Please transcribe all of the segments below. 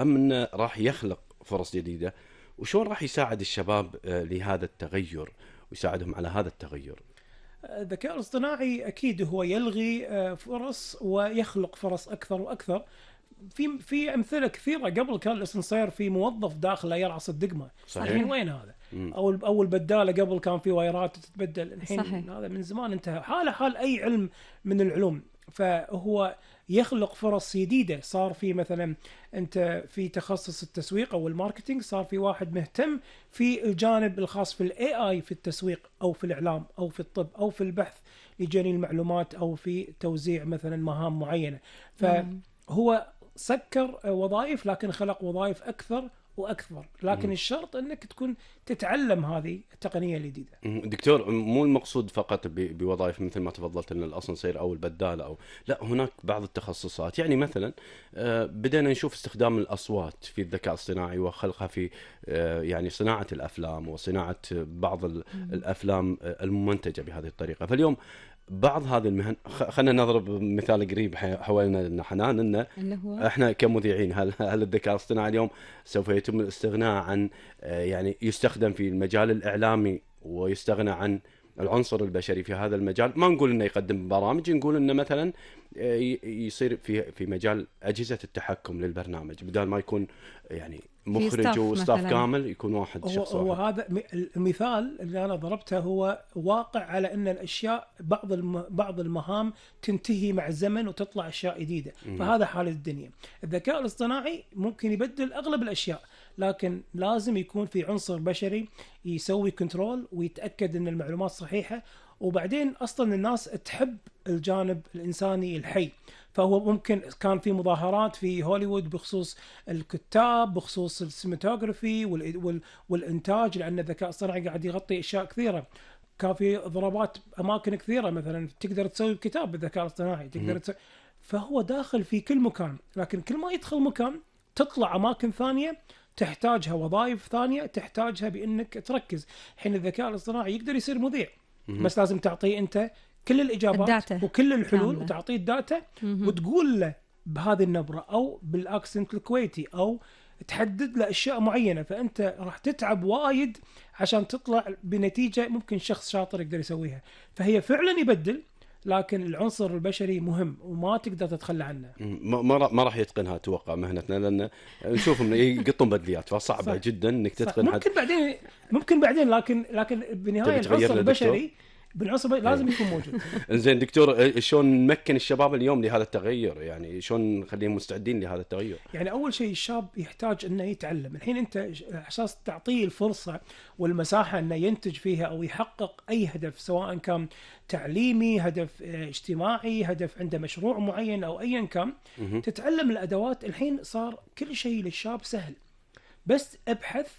أم إنه راح يخلق فرص جديدة، وشون راح يساعد الشباب لهذا التغير ويساعدهم على هذا التغير؟ الذكاء الاصطناعي أكيد هو يلغي فرص ويخلق فرص أكثر وأكثر. في أمثلة كثيرة. قبل كان الأسانسير في موظف داخله يرعص الدقمة، صحيح. الحين وين هذا؟ مم. أو البدالة قبل كان في وايرات تتبدل، الحين صحيح. هذا من زمان انتهى. حال أي علم من العلوم. فهو يخلق فرص جديدة. صار في مثلا أنت في تخصص التسويق أو الماركتينج، صار في واحد مهتم في الجانب الخاص في الاي اي في التسويق أو في الإعلام أو في الطب أو في البحث لجني المعلومات أو في توزيع مثلا مهام معينة. فهو سكر وظائف لكن خلق وظائف أكثر وأكثر. لكن الشرط أنك تكون تتعلم هذه التقنية الجديدة. دكتور، مو المقصود فقط بوظائف مثل ما تفضلت ان الاسانسير او البداله، او لا، هناك بعض التخصصات. يعني مثلا بدأنا نشوف استخدام الاصوات في الذكاء الاصطناعي وخلقها في يعني صناعه الافلام وصناعه بعض الافلام الممنتجه بهذه الطريقه. فاليوم بعض هذه المهن، خلينا نضرب مثال قريب حوالينا حنان، انه اللي هو احنا كمذيعين، هل الذكاء الاصطناعي اليوم سوف يتم الاستغناء عن يعني يستخدم في المجال الاعلامي ويستغنى عن العنصر البشري في هذا المجال؟ ما نقول انه يقدم برامج، نقول انه مثلا يصير في مجال اجهزه التحكم للبرنامج، بدل ما يكون يعني مخرج وستاف كامل، يكون واحد شخص هو واحد. هذا المثال اللي انا ضربته هو واقع على ان الاشياء بعض المهام تنتهي مع الزمن وتطلع اشياء جديده. فهذا حال الدنيا. الذكاء الاصطناعي ممكن يبدل اغلب الاشياء، لكن لازم يكون في عنصر بشري يسوي كنترول ويتاكد ان المعلومات صحيحه. وبعدين اصلا الناس تحب الجانب الانساني الحي. فهو ممكن كان في مظاهرات في هوليوود بخصوص الكتاب، بخصوص السينماتوغرافي والانتاج، لان الذكاء الصناعي قاعد يغطي اشياء كثيره. كان في ضربات اماكن كثيره، مثلا تقدر تسوي كتاب بالذكاء الاصطناعي، تقدر فهو داخل في كل مكان. لكن كل ما يدخل مكان تطلع اماكن ثانيه تحتاجها، وظائف ثانيه تحتاجها بانك تركز. حين الذكاء الاصطناعي يقدر يصير مذيع، بس لازم تعطيه انت كل الاجابات الداتا وكل الحلول كاملة. وتعطيه الداتا وتقول له بهذه النبره او بالاكسنت الكويتي، او تحدد له اشياء معينه. فانت راح تتعب وايد عشان تطلع بنتيجه ممكن شخص شاطر يقدر يسويها. فهي فعلا يبدل، لكن العنصر البشري مهم وما تقدر تتخلى عنه. ما راح يتقنها اتوقع مهنتنا، لان نشوفهم يقطون بدليات، فصعبه جدا انك تتقن. ممكن بعدين لكن بالنهايه العنصر البشري لازم يكون موجود. زين دكتور، شلون نمكن الشباب اليوم لهذا التغير؟ يعني شلون نخليهم مستعدين لهذا التغير؟ يعني اول شيء الشاب يحتاج انه يتعلم. الحين انت اساس تعطيه الفرصه والمساحه انه ينتج فيها او يحقق اي هدف، سواء كان تعليمي، هدف اجتماعي، هدف عنده مشروع معين او ايا كان. تتعلم الادوات. الحين صار كل شيء للشاب سهل، بس ابحث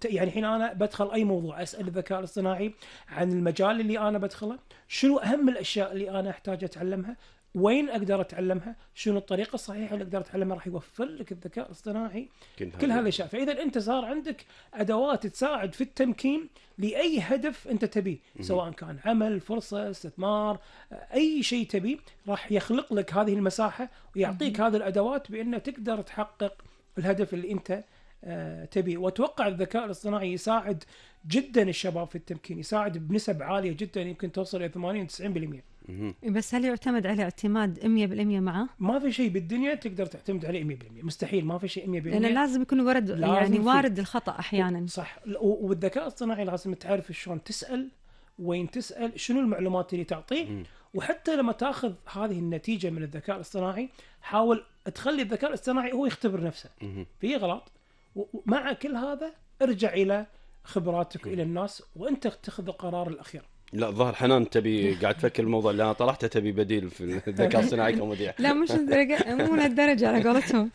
يعني الحين انا بدخل اي موضوع اسال الذكاء الاصطناعي عن المجال اللي انا بدخله، شنو اهم الاشياء اللي انا احتاج اتعلمها، وين اقدر اتعلمها، شنو الطريقه الصحيحه اللي اقدر اتعلمها. راح يوفر لك الذكاء الاصطناعي كل هالاشياء. فاذا انت صار عندك ادوات تساعد في التمكين لاي هدف انت تبيه، سواء كان عمل، فرصه، استثمار، اي شيء تبيه، راح يخلق لك هذه المساحه ويعطيك هذه الادوات بانه تقدر تحقق الهدف اللي انت تبي. واتوقع الذكاء الاصطناعي يساعد جدا الشباب في التمكين، يساعد بنسب عاليه جدا، يمكن توصل الى 80-90%. بس هل يعتمد عليه اعتماد 100% معه؟ ما في شيء بالدنيا تقدر تعتمد عليه 100%، مستحيل. ما في شيء 100%، لأن لازم يكون وارد الخطأ احيانا. صح. والذكاء الاصطناعي لازم تعرف شلون تسال، وين تسال، شنو المعلومات اللي تعطيه. وحتى لما تاخذ هذه النتيجه من الذكاء الاصطناعي، حاول تخلي الذكاء الاصطناعي هو يختبر نفسه في غلط. ومع كل هذا ارجع الى خبراتك الى الناس وانت تاخذ القرار الاخير. لا، ظهر حنان تبي قاعد تفكر الموضوع اللي انا طرحته، تبي بديل في الذكاء الصناعي كمذيع. لا مش مو لهالدرجه على قولتهم.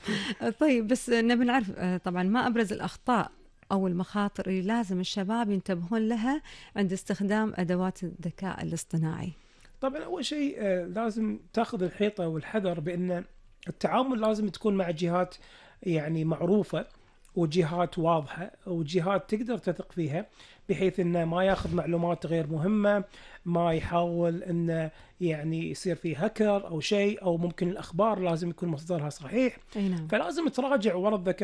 طيب بس نبي نعرف طبعا ما ابرز الاخطاء او المخاطر اللي لازم الشباب ينتبهون لها عند استخدام ادوات الذكاء الاصطناعي؟ طبعا اول شيء لازم تاخذ الحيطه والحذر بان التعامل لازم تكون مع جهات يعني معروفه وجهات واضحة وجهات تقدر تثق فيها، بحيث انه ما ياخذ معلومات غير مهمة، ما يحاول انه يعني يصير فيه هكر او شيء، او ممكن الاخبار لازم يكون مصدرها صحيح. أي نعم. فلازم تراجع ورا الذكاء